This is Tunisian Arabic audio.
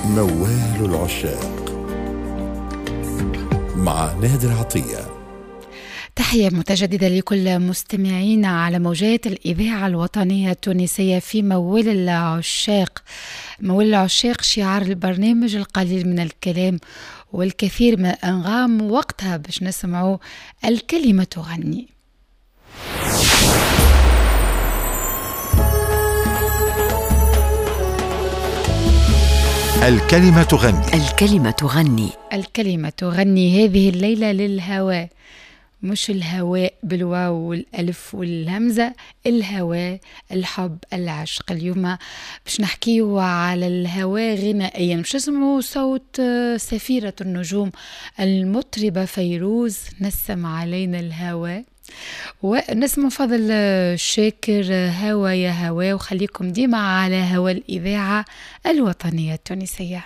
موال العشاق مع نادر عطية. تحية متجددة لكل مستمعينا على موجات الإذاعة الوطنية التونسية في موال العشاق. موال العشاق شعار البرنامج، القليل من الكلام والكثير من الأنغام، وقتها باش نسمعوا الكلمة تغني. الكلمة تغني. الكلمة تغني. الكلمة تغني هذه الليلة للهواء، مش الهواء بالواو والألف والهمزة، الهواء، الحب، العشق. اليوم باش نحكيو على الهواء غنائيا، باش نسمعوا صوت سفيرة النجوم المطربة فيروز، نسم علينا الهواء، ونسمع فضل شاكر هوا يا هوا. وخليكم ديما على هوا الإذاعة الوطنية التونسية.